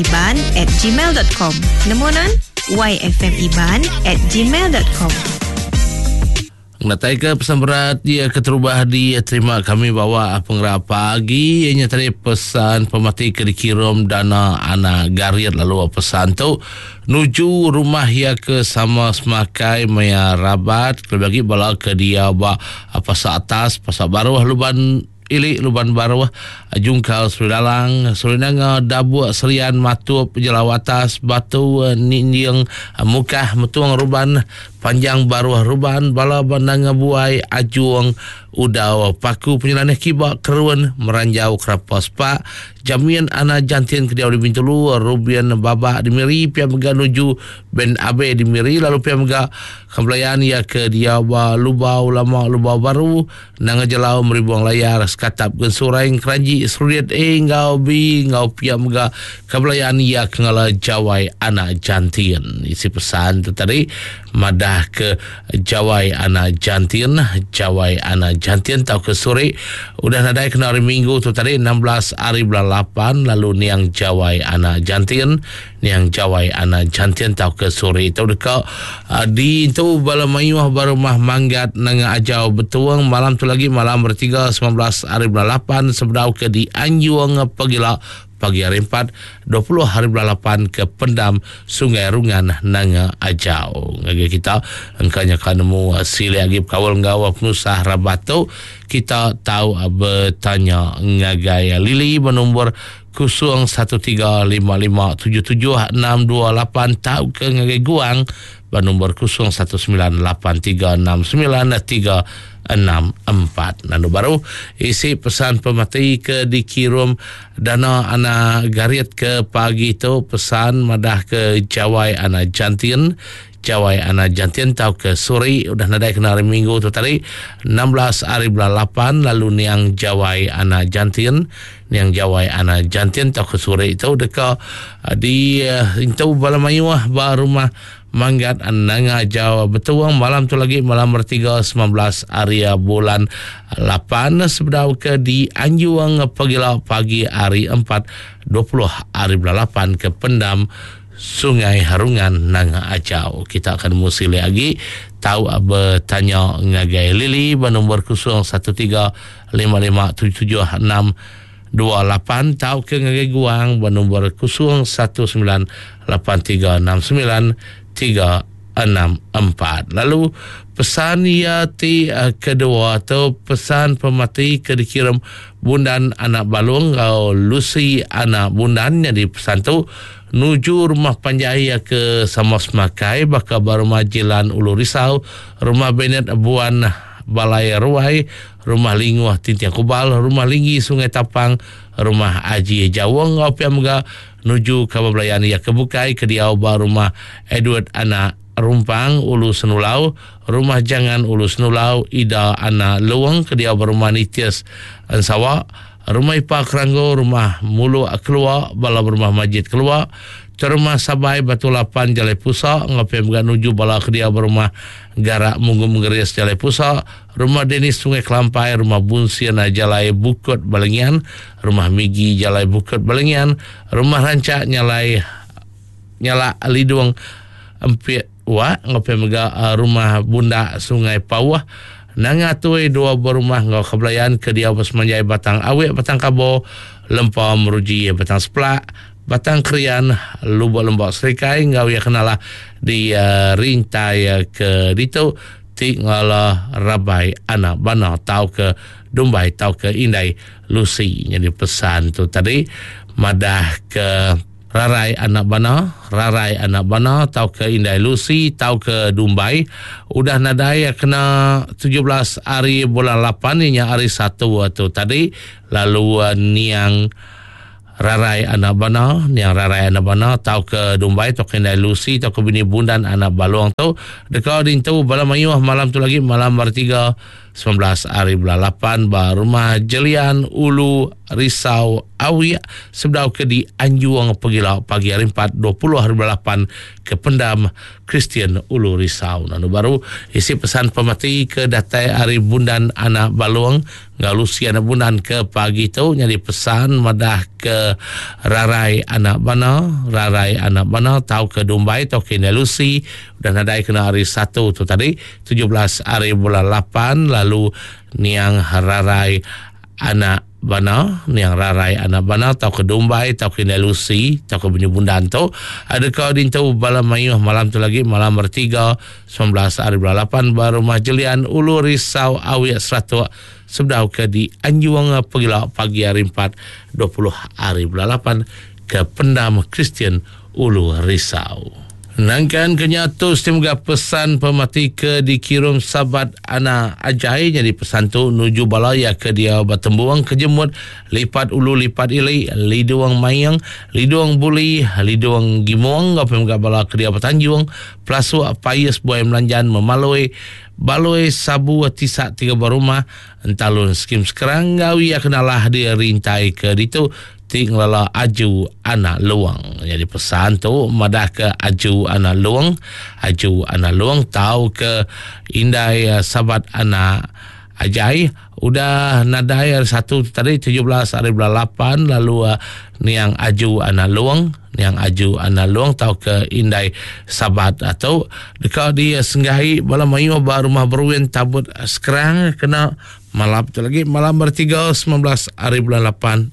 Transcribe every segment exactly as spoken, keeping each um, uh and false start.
Iban at gmail dot com. Nemu nan? Y F M Iban at gmail dot com. Ngatai ke pesan berat dia keterubah diterima kami bawa pengerap pagi ianya tadi pesan pemati ke dikirim dana anak garit lalu pesan tu nuju rumah ia ke sama semakai maya rabat lebih lagi bala ke dia ba pasar atas pasar baruh luban ili luban baruh jungkal Seri Dalang Seri Nanga Dabuk Serian Matup Jelau Atas Batu Ninding Mukah Metung Ruban Panjang Baruh Ruban Bala Bandanga Buai Ajuang Udau Paku Penyelaneh Kiba Kerun Meranjau Kerapa Sepak Jamin Ana Jantin Kediau di Bintulu Rubian Babak di Miri Pia Mega nuju Ben Abe di Miri lalu Pia Mega Kembelayan ia ke dia ba Lubau Lama Lubau Baru Nanga Jelau Meribuang Layar Sekatap Gensurai Keranji Serudiat A ngau B ngau Pia Mega Kembelayan ia ke ngala Jawai Anak Jantin. Isi pesan tu tadi madah ke Jawai Anak Jantin Jawai Anak Jantin tau ke sore udah nadai kena hari Minggu tu tadi enam belas hari bulan lapan lalu niang Jawai Anak Jantin niang Jawai Anak Jantin tau ke sore tu dekat uh, di tu bala mayuh barumah Manggat Nanga Ajau Betuang malam tu lagi malam bertiga sembilan belas hari bulan lapan sebedau ke di Anjuang Pegila pagi hari empat dua puluh hari bulan lapan ke Pendam Sungai Rungan Nanga Ajau. Ngagai kita engkanya kan nemu sili agi kawal nggawa penusah rabat tu kita tahu bertanya ngagai Lili bernombor kosong satu tiga lima lima tujuh tujuh enam dua lapan tahu ke ngagai Guang bernombor kosong satu sembilan lapan tiga enam sembilan tiga enam empat. Lalu baru isi pesan pemati ke dikirim dana anak garit ke pagi tu pesan madah ke Jawai Anak Jantin Jawai Anak Jantin tau ke sore udah nadai kena hari Minggu tu tadi enam belas hari bulan lapan lalu niang Jawai Anak Jantin niang Jawai Anak Jantin tau ke sore itu deka di itu bala mayuh ba rumah Manggat Nanga Jawa Betuang malam tu lagi malam bertiga sembilan belas hari bulan lapan sebedau ke di Anjuang Pegila pagi hari empat dua puluh hari bulan lapan ke Pendam Sungai Harungan Nanga Ajau. Kita akan musi lagi tahu bertanya ngagai Lili bernombor kosong satu tiga lima lima tujuh tujuh enam dua lapan tahu ke ngagai Guang bernombor kosong satu sembilan lapan tiga enam sembilan tiga enam empat. Lalu pesan ia ti uh, kedua atau pesan pemati ke dikirim Bundan Anak Balung atau Lucy Anak Bundan yang di pesan tu nuju rumah panjai ke Samos Makai bakal rumah Jilan Ulu Risau, rumah Benet Buan Balai Ruai, rumah Linguah Tintiang Kubal, rumah Linggi Sungai Tapang, rumah Aji Jawong ngau pia mega nuju ka belayan ia ke Bukai ke diau ba rumah Edward Anak Rumpang Ulu Senulau, rumah Jangan Ulu Senulau, Ida Anak Luang ke diau ba rumah Nitias Ensawa, rumah Ipa Keranggo, rumah Mulu Keluar, bala rumah Majid Keluar, rumah Sabai Batu Lapan Jalai Pusa, ngau pia mega nuju bala ke diau ba rumah Garak Munggu Menggeris Jalai Pusa, rumah Denis Sungai Kelampai, rumah Bunsian Jalai Bukut Balengian, rumah Migi Jalai Bukut Balengian, rumah Rancak Nyalai Nyala Lidung Empit Wak, ngau pia mega rumah Bunda Sungai Pawah, Nanga Tui dua berumah ngau kebelayan ke diau bersemanjai Batang Awik, Batang Kabo, Lempa Meruji, Batang Seplak, Batang Krian, Lubuk Lembak Serikai, ngau ia kenalah di uh, rintai uh, ke ditu ti ngala Rabai Anak Bana tau ke Dumbai tau ke Indai Lucy. Jadi pesan tu tadi madah ke Rarai Anak Bana, Rarai Anak Bana tau ke Indai Lucy tau ke Dumbai udah nadai kena tujuh belas hari bulan lapan ni hari satu tu tadi lalu uh, niang Rarai Anak Bana, niang Rarai Anak Bana tau ke Dumbai tau ke Indai Lucy tau ke bini Bundan Anak Baluang tu dekat dintu bala mayuh malam tu lagi malam bertiga sembilan belas hari bulan lapan ba rumah Jelian Ulu Risau Awiak sebedau ke di Anjuang Pegila pagi hari empat dua puluh hari lapan ke Pendam Kristian Ulu Risau. Lalu baru isi pesan pemati ke datai hari Bundan Anak Balung ngau Lucy Anak Bundan ke pagi tu jadi pesan madah ke Rarai Anak Bana, Rarai Anak Bana tau ke Dumbai tau ke Lucy dan nadai kena hari satu tu tadi tujuh belas hari bulan lapan lalu niang Rarai Anak Bana, niang Rarai Anak Bana tau ke Dumbai tau ke Lucy tau ke Bunyu Bundan tu ada kau dintu bala mayuh malam tu lagi malam bertiga sembilan belas hari bulan lapan baru rumah Jelian Ulu Risau Awiak Seratuk sebedau ke di Anjuang Pegila pagi hari empat dua puluh hari bulan lapan ke Pendam Kristian Ulu Risau. Nangkan kenyatu semoga pesan pemati ke dikirim sahabat anak Ajai jadi pesan tu nuju balaya ke dia bertembuang kejemut lipat ulu lipat ili liduang mayang liduang buli liduang gimuang apa moga bala ke dia bertanjung pelasuk payes buai melanjan memalui baloi sabu tisak tiga berumah entalun skim sekarang gawi kenalah dia rintai ke ditu tinggallah aju anak luang. Jadi pesan tu madah ke aju anak luang, aju anak luang tahu ke indai sahabat anak Ajai udah nadai hari satu tadi tujuh belas hari bulan lapan lalu uh, niang aju anak luang, niang aju anak luang tahu ke indai sahabat atau dekat dia senggahi bala mayu ba rumah beruin tabut sekarang kena malam tu lagi malam bertiga sembilan belas hari bulan lapan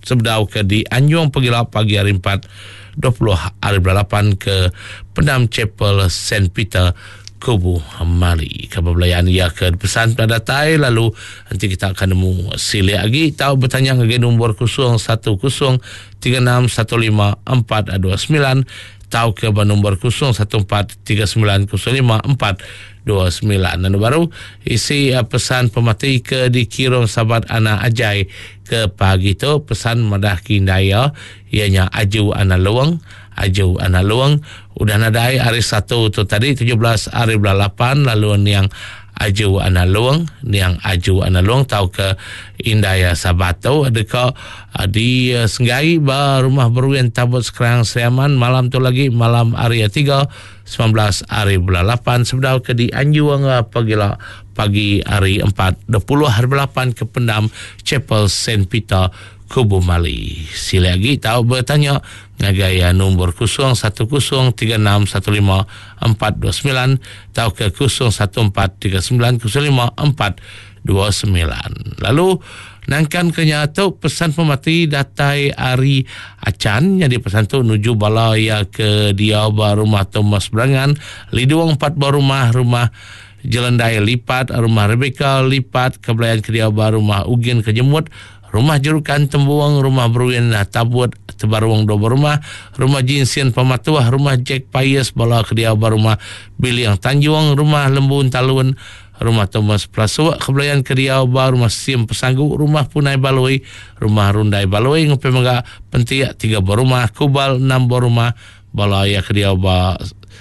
sebedau ke di Anjung Pegila pagi hari empat dua puluh hari bulan lapan ke Pendam Chapel Saint Peter Kubu Mali. Khabar belayan ia ke pesan pada datai lalu nanti kita akan nemu silik lagi tahu bertanya ke nombor kosong satu kosong tiga enam satu lima empat dua sembilan tahu ke nombor kosong satu empat tiga sembilan kosong lima empat dua sembilan. Dan baru isi pesan pemati ke dikirim sahabat anak Ajai ke pagi tu pesan madah kindaya ianya aju anak luang, aju anak luang udah nadai hari satu tu tadi tujuh belas hari bulan lapan lalu niang aju anak luang, niang aju anak luang tau ke indaya sabato adeka di Senggai ba rumah beruin tabut sekarang Seriaman malam tu lagi malam hari tiga sembilan belas hari bulan lapan sebedau ke di Anjuang pagi pagi hari empat dua puluh hari bulan lapan ke Pendam Chapel Saint Peter Kubu Mali. Sila lagi tahu bertanya ngagai nombor kosong satu kosong tiga enam satu lima empat dua sembilan atau ke kosong satu empat tiga sembilan kosong lima empat dua sembilan. Lalu nangkan kenyatu pesan pemati datai ari acan yang dipesan tu nuju balaya ke dia rumah Thomas Berangan liduang empat buah rumah rumah Jelendai lipat rumah Rebecca lipat kebelayan ke dia rumah Ugin Kejemut rumah Jerukan Tembuang, rumah Beruin Tabut Tebaruang dua rumah, rumah Jinsian Pematuah, rumah Jack Payes bala ke dia rumah Biliang Tanjung, rumah Lembun Talun, rumah Thomas Plasuk, kebelayan ke dia rumah Sim Pesanggu, rumah Punai Baloi, rumah Rundai Baloi, ngupi mega Pentiak tiga rumah, Kubal enam rumah, bala ya ke dia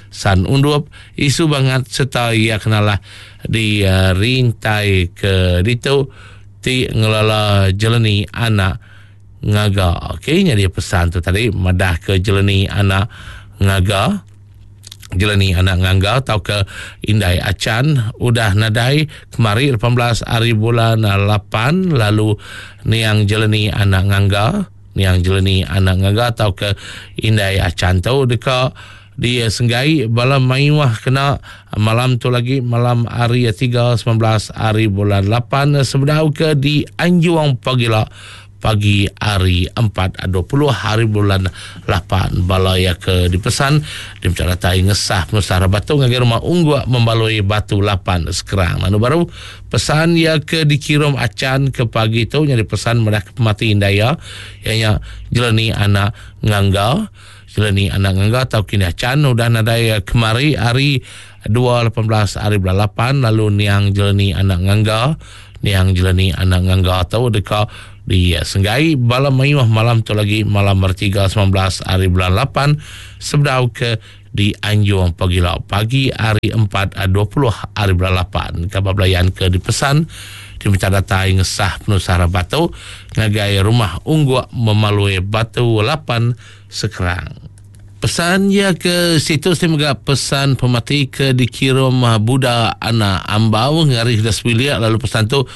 San Undup, isu bangat serta ia kenalah di uh, rintai ke ditu ti ngelala jeleni anak ngaga. Okey, jadi pesan tu tadi madah ke jeleni anak ngaga, jeleni anak ngangga atau ke indai acan udah nadai kemari lapan belas hari bulan lapan lalu niang jeleni anak ngangga, niang jeleni anak ngangga atau ke indai acan tu dekat dia senggai bala mayuah kena malam tu lagi malam hari tiga sembilan belas hari bulan lapan sebedau ke di Anjuang pagila pagi hari empat dua puluh hari bulan lapan bala ya ke dipesan di mencarai ngesah penusah batu ngagai rumah unggua membaloi batu lapan sekarang. Lalu baru pesan ya ke dikirim acan ke pagi tu yang dipesan madah ke pemati indaya ianya jeleni anak ngangga, jeleni anak ngangga atau kini acan udah nadai kemari hari dua lapan belas hari bulan lapan lalu niang jeleni anak ngangga, niang jeleni anak ngangga atau dekat di Senggai bala mayuh malam tu lagi malam bertiga sembilan belas hari bulan lapan sebedau ke di Anjung Pagila pagi hari empat dua puluh hari bulan lapan. Khabar belayan ke dipesan di Diminta datai ngesah penusah rabat tu ngagai rumah Ungguk Memalui Batu lapan Sekerang. Pesan ya ke situ mega pesan pemati ke dikirim Buddha anak Ambau ngari dah sebilik lalu pesan tu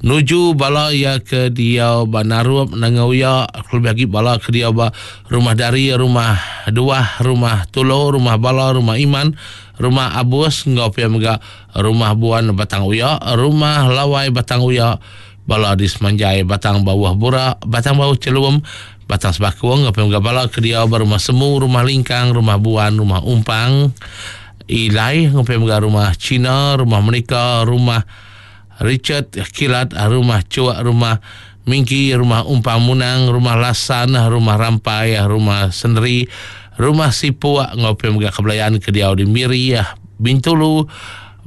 nuju bala ya ke dia ba Narup Nangauya lebih lagi bala ke dia ba rumah dari rumah dua rumah Tulo rumah bala rumah Iman rumah Abus ngau pia mega rumah Buan Batang Uya rumah Lawai Batang Uya bala di Semanjai Batang Bawah Bura Batang Bawah Celum Batang Sebakung ngau pia mega bala ke dia ba rumah Semu rumah Lingkang rumah Buan rumah Umpang Ilai ngau pia mega rumah Cina rumah Menika rumah Richard Kilat, rumah Cuak, rumah Mingki, rumah Umpang Munang, rumah Lasan, rumah Rampai, rumah Senderi, rumah Sipuak, ngopi mega kebelayan ke diau di Miri, Bintulu,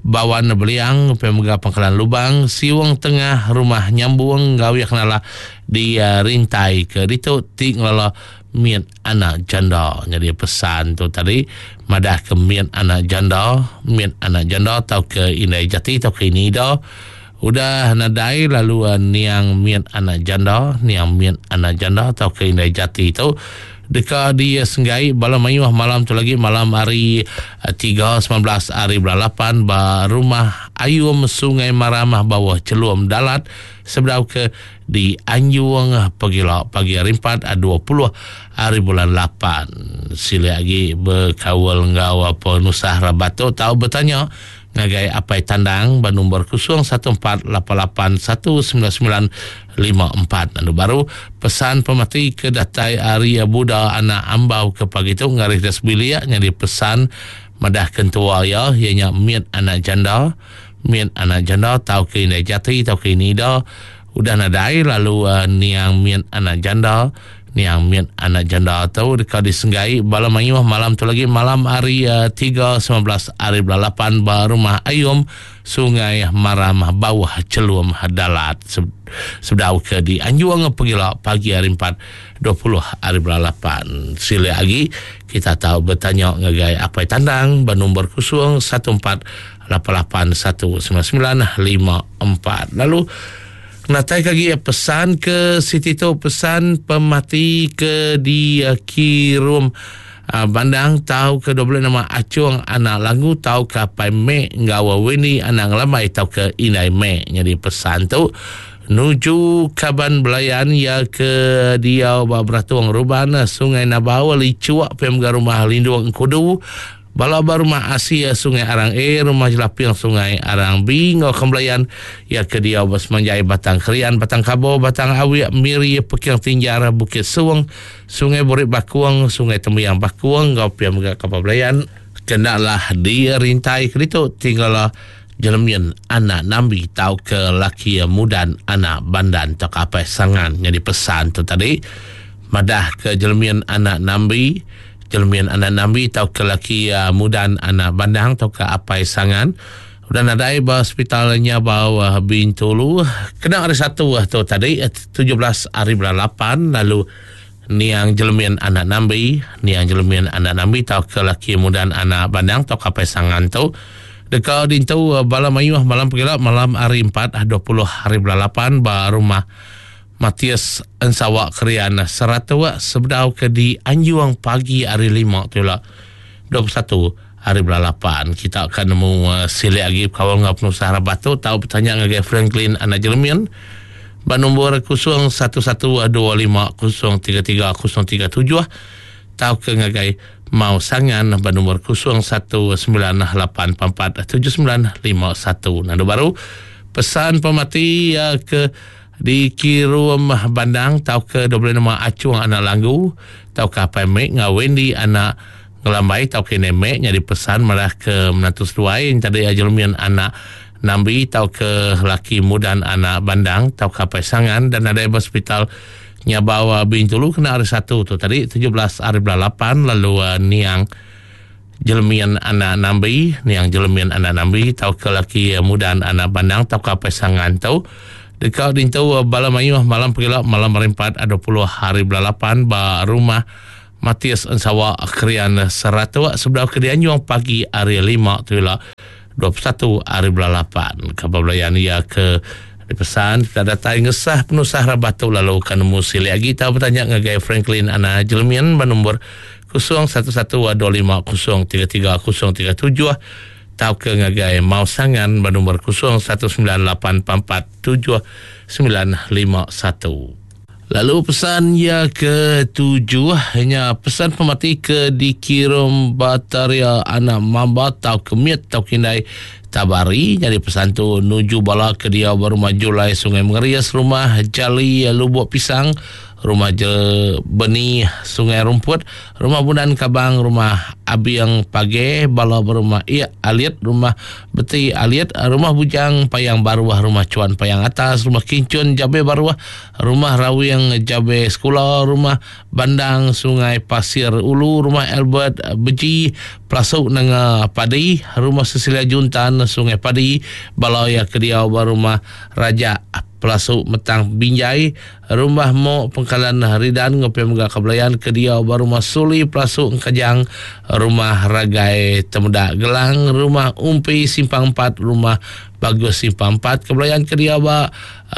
Bawan Beliang, ngopi mega Pangkalan Lubang, Siwang Tengah, rumah Nyambung, gawi kenala di uh, Rintai ke ditu ti ngelala miat anak janda. Jadi pesan tu tadi madah ke miat anak janda, miat anak janda atau ke indai jati atau ke ini dah udah nadai lalu uh, niang miat anak janda, niang miat anak janda atau ke indai jati tu deka dia senggai bala mayuh malam tu lagi malam hari uh, tiga sembilan belas hari bulan lapan ba rumah Ayum Sungai Maramah bawah Celum Dalat sebelah ke di Anjung Pegila pagi hari empat dua puluh hari bulan lapan. Sila lagi berkawal ngau apa nusah rabat tu tahu bertanya ngagai apai tandang ba nombor kosong satu empat lapan lapan satu sembilan sembilan lima empat. Lalu baru pesan pemati ke datai hari Buddha anak Ambau ke pagi tu ngarih das bilik jadi pesan madah kentua ya ianya miat anak janda, miat anak janda tau ke indai jati tau ke ini dah udah nadai lalu uh, niang miat anak janda, niang miat anak janda tu dekat disenggai bala mayuh malam tu lagi malam hari uh, tiga sembilan belas hari bulan lapan ba rumah Ayum Sungai Maram bawah Celum Dalat sebedau ke di Anjuang Pegila pagi hari empat dua puluh hari bulan lapan. Sila lagi kita tahu bertanya ngagai apai tandang ba nombor kosong satu empat lapan lapan satu sembilan sembilan lima empat. Lalu natai lagi pesan ke Siti tu pesan pemati ke di uh, kirum uh, bandang tahu ke dua belas nama Acung anak Langu tahu ke Pai Mek ngawa Weni anak Lamai tahu ke Inai Mek. Jadi pesan tu nuju kaban belayan ya ke dia Beratung Ruban Sungai Nabau Licuak P M G Rumah Lindung Kudu Bala rumah Asia Sungai Arang A, rumah Jelapiang Sungai Arang B, ngau kembelayan ya ke dia Semanjai Batang Kerian, Batang Kabo, Batang Awiak, Miri, Pekiang Tinjar, Bukit Suang, Sungai Borik Bakuang, Sungai Tembiang Bakuang, ngau piam ke kapal belayan kenalah dirintai kerito tinggallah jelemian anak Nambi tau ke laki mudan anak bandan tak apa sangan jadi pesan tu tadi madah ke jelemian anak Nambi jelemian anak Nambi tau ke laki uh, mudan anak bandang tau ke apai sangan udah nadai ba hospitalnya bawah Bintulu kena hari satu tu tadi tujuh belas hari bulan lapan lalu niang jelemian anak Nambi niang jelemian anak Nambi tau ke laki mudan anak bandang tau ke apai sangan tu dekat dintu bala mayuh malam pegila malam hari empat dua puluh hari bulan lapan ba rumah Matias Ensawak Kerian Seratua sebedau ke di Anjuang pagi hari lima tu lah dua puluh satu hari bulan lapan. Kita akan nemu uh, silik lagi kawan ngau penuh rabat tu tahu bertanya ngagai Franklin anak Jeremian ba nombor kosong satu satu dua lima kosong tiga tiga kosong tiga tujuh tahu ke ngagai Mau Sangan ba nombor kosong satu sembilan lapan empat tujuh sembilan lima satu. Nando baru pesan pemati uh, ke di Kirum Bandang tau ke dua puluh lima Acung anak Langgu tau ke Apai Mek ngau Wendy anak Ngelambai tau ke Nemek jadi pesan malah ke menantu seduai yang tadi Ajelmian anak Nambi tau ke laki mudan anak Bandang tau ke Apai Sangan dan ada hospital nyabawa Bintulu kena hari satu tu tadi tujuh belas hari bulan lapan lalu uh, niang Jelemian anak Nambi niang Jelemian anak Nambi tau ke laki mudan anak Bandang tau ke Apai Sangan tau dekat dintu bala mayuh malam pegila malam hari empat dua puluh hari bulan lapan ba rumah Matias Ensawa Krian Seratua sebelah ke Anjuang pagi hari lima tu lah dua puluh satu hari bulan lapan. Kapal belayan ia ke Dipesan kita datai ngesah penusah rabat tu lalu kan nemu silik lagi tau bertanya ngagai Franklin Ana Jelmian bernombor kosong satu satu dua lima kosong tiga tiga kosong tiga tujuh tau ke ngagai Mau Sangan bernombor kosong satu sembilan lapan empat empat tujuh sembilan lima satu. Lalu pesan ya ketujuh hanya pesan pemati ke dikirim Bataria anak mamba tau kemit tau kindai tabari. Jadi pesan tu nuju bala ke dia berumah Julai Sungai Mengerias, rumah Jali Lubuk Pisang, rumah Je Beni Sungai Rumput, rumah Bunan Kabang, rumah Abiang Page, bala berumah Ia Alit, rumah Beti Alit, rumah Bujang Payang Baruah, rumah Cuan Payang Atas, rumah Kincun Jabe Baruah, rumah Rawing Jabe Sekolah, rumah Bandang Sungai Pasir Ulu, rumah Albert Beji Pelasuk Nanga Padi, rumah Cecilia Juntan Sungai Padi, bala ya kediau berumah Raja Pelasuk Metang Binjai, rumah Mok Pengkalan Ridan ngopi mega kebelayan kediau berumah Suli Pelasuk Engkajang, rumah Ragai Temedak Gelang, rumah Umpi Simpang empat, rumah Bagus Simpang empat, kebelayan kediau ba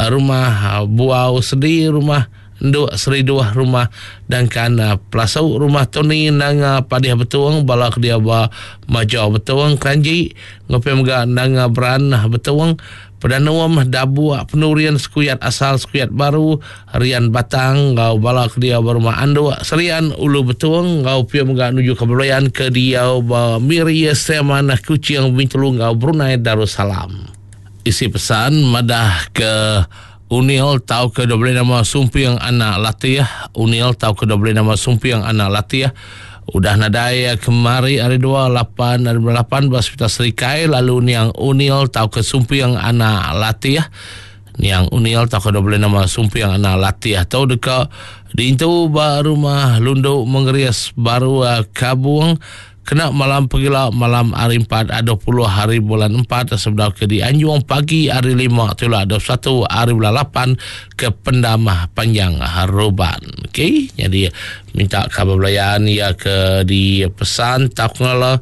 rumah Buau Sedi, rumah Nduk Seri Dua, rumah Dangkan Pelasuk, rumah Tony Nanga Padiah Betuang, bala kedia ba Majau Betuang Keranji, ngopi mega Nanga Beran Betuang, Pedanuam Dabu Penurian Sekuyat Asal Sekuyat Baru Rian Batang ngau bala kedia ba rumah Anduk Serian Ulu Betuang ngau pia mega nuju ke Belayan ke dia ba Miri Seman Kuching Bintulu ngau Brunei Darussalam. Isi pesan madah ke Unil tau ke dua nama Sumpiang anak latih, Unil tau ke dua nama Sumpiang anak latih. Udah nadai kemari hari dua lapan hari lapan belas hospital Serikai lalu niang Unil tau ke Sumpiang anak latih. Niang Unil tau ke dua nama Sumpiang anak latih tau dekat diintu ba rumah Lunduk Mengerias Baru Kabung. Kena malam pegila malam hari empat dua puluh hari bulan empat sebelum ke di Anjung pagi hari lima tulah dua puluh satu hari bulan lapan ke Pendam Panjang Haruban. Okey, jadi minta khabar belayan ya ke di pesan tak ngala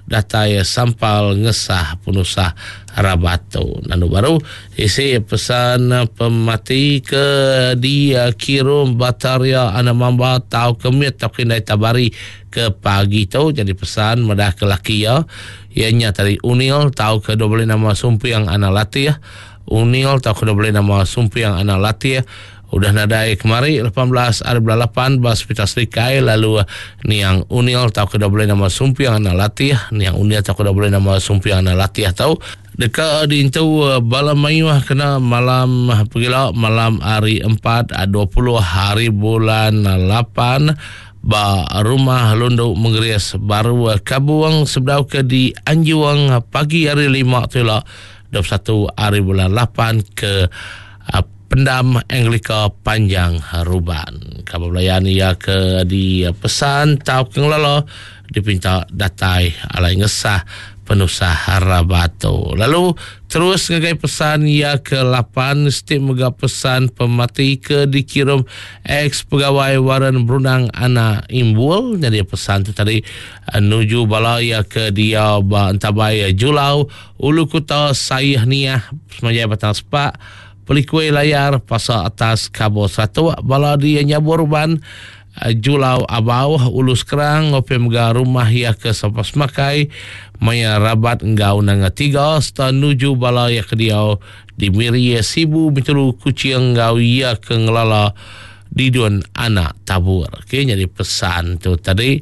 datai sampal ngesah penusah rabato. Nanu baru isi pesan pemati ke di kirim Bataria anak mamba tau kemit tau kindai tabari ke pagi tu. Jadi pesan madah ke laki ya ianya tadi Unil tau ke dua belas nama Sumpiang anak latih. Unil tau ke dua belas nama Sumpiang anak latih. Udah nadai kemari lapan belas hari bulan lapan bas hospital Serikai lalu niang Unil tau ke dua belas nama Sumpiang anak latih. Niang Unil tau ke dua belas nama Sumpiang anak latih tau dekat diintu bala mayuh kena malam pegila malam hari empat dua puluh hari bulan lapan ba rumah Lunduk Mengerias Baru Kabuang sebedau ke di Anjuang pagi hari lima tu lah dua puluh satu hari bulan lapan ke Pendam Anglika Panjang Haruban. Khabar belayan ia ke di pesan tau ke ngelala dipinta datai alai ngesah penusah harabato. Lalu terus ngagai pesan ia ke lapan setiap mega pesan pemati ke dikirim ex pegawai Warren Brunang anak Imbul. Jadi pesan tu tadi nuju bala ia ke dia ba entabai Julau Ulu Kuta Sayah Niah Semajai Batang Sepak Pelikui Layar Pasar Atas Kabur Satu bala dia nyabur ban Julau Abau Ulu Sekerang ngopi mega rumah ia ke Sampas Makai Maya Rabat Enggau Nanga Tiga serta nuju bala ia ke dia di Miri Sibu Bintulu Kuching Enggau ia ke ngelala Didun Anak Tabur. Okey, jadi pesan tu tadi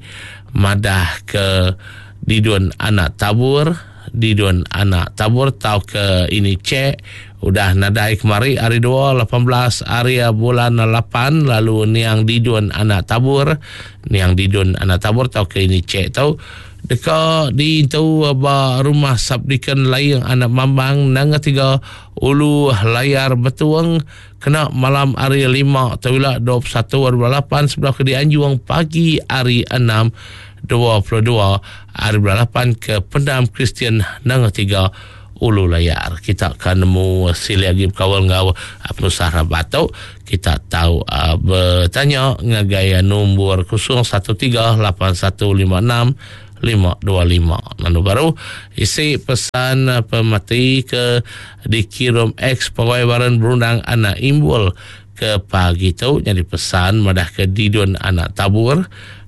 madah ke Didun Anak Tabur, Didun Anak Tabur tau ke ini cek udah nadai kemari hari dua lapan belas hari bulan lapan lalu niang Didun Anak Tabur, niang Didun Anak Tabur tau ke ini cek tau dekat di itu ba rumah Sabdikan Layang Anak Mambang Nanga Tiga Ulu Layar Betuang kena malam hari lima tawila dua puluh satu hari bulan lapan sebelah ke di Anjuang pagi hari enam dua puluh dua hari bulan lapan ke Pendam Kristian Nanga Tiga Ulu Layar. Kita akan nemu sili lagi berkawal ngau penusah rabato. Kita tahu uh, bertanya ngagai nombor kosong satu tiga lapan satu lima enam lima dua lima. Lalu baru isi pesan pemati ke dikirim ex pegawai baran berundang anak imbul ke pagi tu jadi pesan madah ke didun anak tabur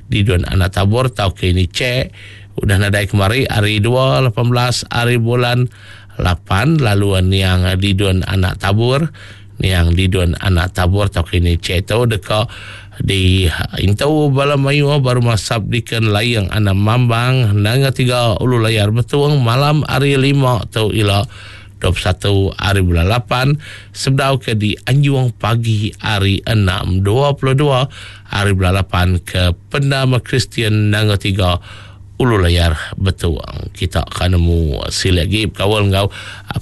didun anak tabur tau ke ini cek udah nadai kemari hari dua lapan belas hari bulan lapan lalu niang didun anak tabur niang didun anak tabur tau ke ini cek tu deka di intu bala mayu baru masap diken layang anak mambang nanga tiga ulu layar betuang malam hari lima tu ila dua puluh satu hari bulan lapan sebdau ke di Anjung pagi hari enam dua puluh dua hari bulan lapan ke Pendam Kristian nanga tiga ulu layar betuang. Kita akan nemu sila lagi berkawal ngau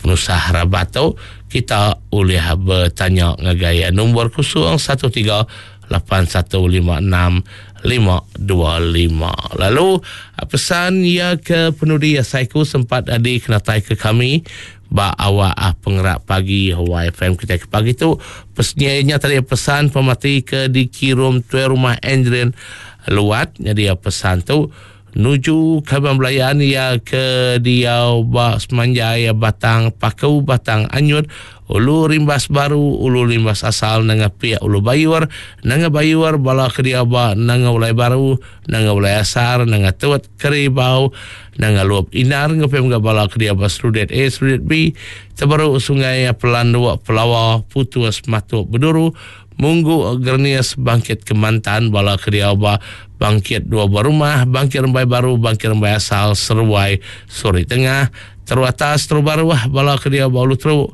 penusah rabat tu kita boleh bertanya ngagai nombor kosong satu tiga lapan satu lima enam lima dua lima. Lalu pesan ia ke penudi saiku sempat adi kenatai ke kami ba awak pengerak pagi Y F M kita ke pagi tu pesannya tadi pesan pemati ke dikirim tuan rumah Andrian Luat. Jadi pesan tu nuju kaban belayan ia ke diau ba semanjai batang paku batang anyut ulu rimbas baru ulu rimbas asal nanga pia ulu bayur nanga bayur bala ke diau ba nanga ulai baru nanga ulai asar nanga tuat keribau nanga luap inar ngepem ga bala ke diau ba serudet A serudet B terbaru sungai Pelanduk Pelawa Putus Matuk Beduru Munggu Gernias bangkit Kemantan bala ke diau ba bangkit dua buah rumah bangkit Rembai Baru bangkit Rembai Asal Seruai Suri Tengah Teru Atas Teru Baru bala ke diau ba Ulu Teru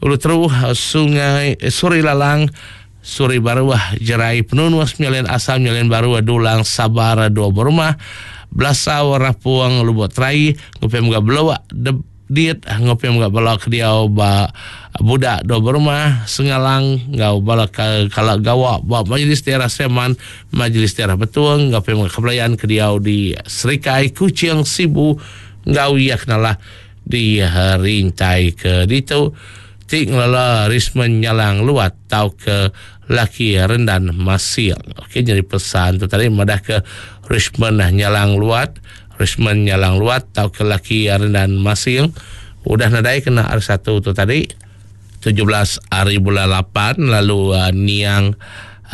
Ulu Teru Sungai Suri Lalang Suri Baru Jerai Penunus Nyalian Asam Nyalian Baru Dulang Sabar dua buah rumah Belasau Rapuang Lubuk Terai ngupem ga Belawak Diet ngopi mga bala ke diau ba budak dua berumah Sengalang ngau bala kala gawa ba Majlis Daerah Seman Majlis Daerah Betuang ngopi mga kebelayan ke diau di Serikai Kuching Sibu ngau ia kenalah di rintai ke ditu tik ngelala Risman Nyalang Luat tau ke laki Rendan Masing. Okey jadi pesan tu tadi madah ke Risman Nyalang Luat Risman Nyalang Luat tau ke laki Rendan Masing udah nadai kena R satu tu tadi tujuh belas hari bulan lapan lalu uh, niang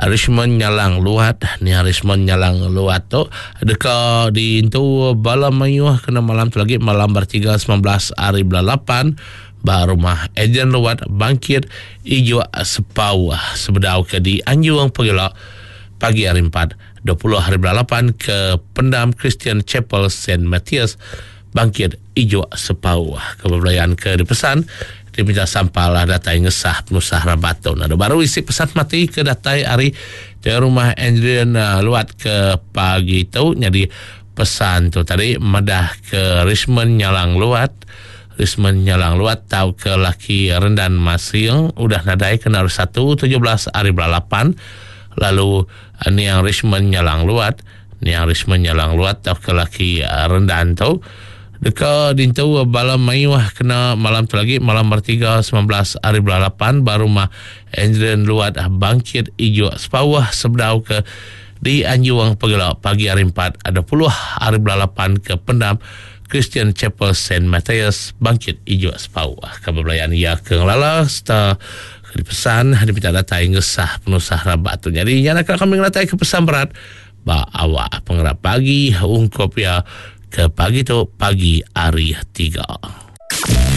Risman Nyalang Luat niang Risman Nyalang Luat tu deka diintu bala mayuh kena malam tu lagi malam bertiga sembilan belas hari bulan lapan ba rumah Ejen Luat bangkit ijo sepau sebedau ke di Anjung Pegela pagi hari empat dua puluh hari bulan lapan ke Pendam Christian Chapel Saint Matthias bangkit ijo sepau kebelayan ke dipesan diminta sampalah datai ngesah penusah rabaton. Ada baru isi pesan mati ke datai hari di rumah Andrian Luat ke pagi tu jadi pesan tu tadi madah ke Risman Nyalang Luat Risman Nyalang Luat tau ke laki Rendan Masing udah nadai kena satu tujuh belas hari bulan lapan lalu niang Risman Nyalang Luat niang Risman Nyalang Luat tau ke laki Rendan tu deka dintu bala mayuh kena malam tu lagi malam bertiga sembilan belas hari bulan lapan baru mah Andrian Luat bangkit ijo sepawah sebedau ke di Anjuang Pegela pagi hari empat ada puluh hari bulan lapan ke Pendam Christian Chapel Saint Matthias bangkit ijo sepawah kebelayan ia ke ngelala serta dipesan diminta datai ngesah penusah rabat tu. Jadi nyana kami ngelatai ke pesan berat ba awak pengerap pagi ungkup ya ke pagi tu pagi hari tiga.